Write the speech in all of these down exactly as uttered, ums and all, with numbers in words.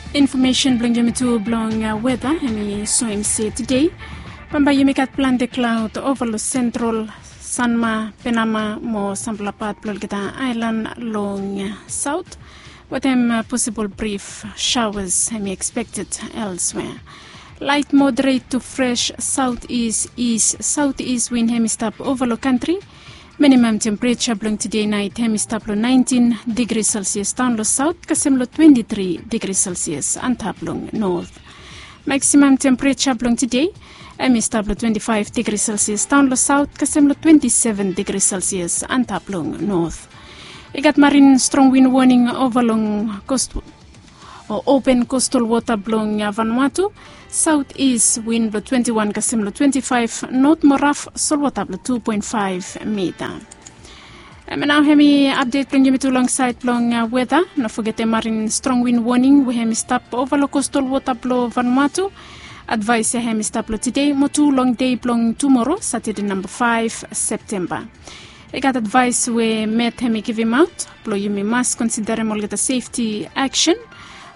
Infomesen blong yumi tu blong weta hemi soem se tede bambae yumi gat plante klaod ova long sentral, sanma, penama mo sampela pat blong olgeta aelan long saot, wetem posibol brif shaoas hemi ekspekted elswea. Lait moderet tu fres saot is is saot is win hemi stap ova long kantri. Minimam tempereja blong tede nait hemi stap long naentin digri selsias daon long saot kasem long twenti tri digri selsias antap long not. Maksimam tempereja blong tede hemi stap long twenti faef digri selsias daon long saot kasem long twenti seven digri selsias antap long not. I gat marin strong win woning ova long kost o open kostal wota blong Vanuatu. Saot is win blong twenti wan kasem long twenti faef not mo raf solwota blong tu poen faef mita. Em nao hemi apdet blong yumi tu long saed blong weta. No fogetem marin strong win woning we hemi stap ova long kostal wota blong Vanuatu. Advaes ya hemi stap long tede mo tu long dei blong tumoro, Satade namba faef Septemba. I gat advaes we met hemi givimaot blong yumi mas konsiderem olgeta sefti aksen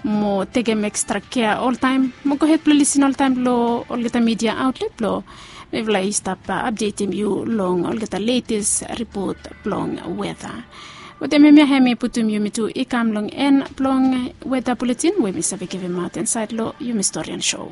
mo tekem ekstra kea oltaem mo gohed blong lisin oltaem long olgeta midia aotlet blong mifala i stap apdetem yu long olgeta letes ripot blong weta. Wetem hemia hemi putum yumi tu i kam long en blong weta buletin we mi save givimaot insaed long yumi storian so.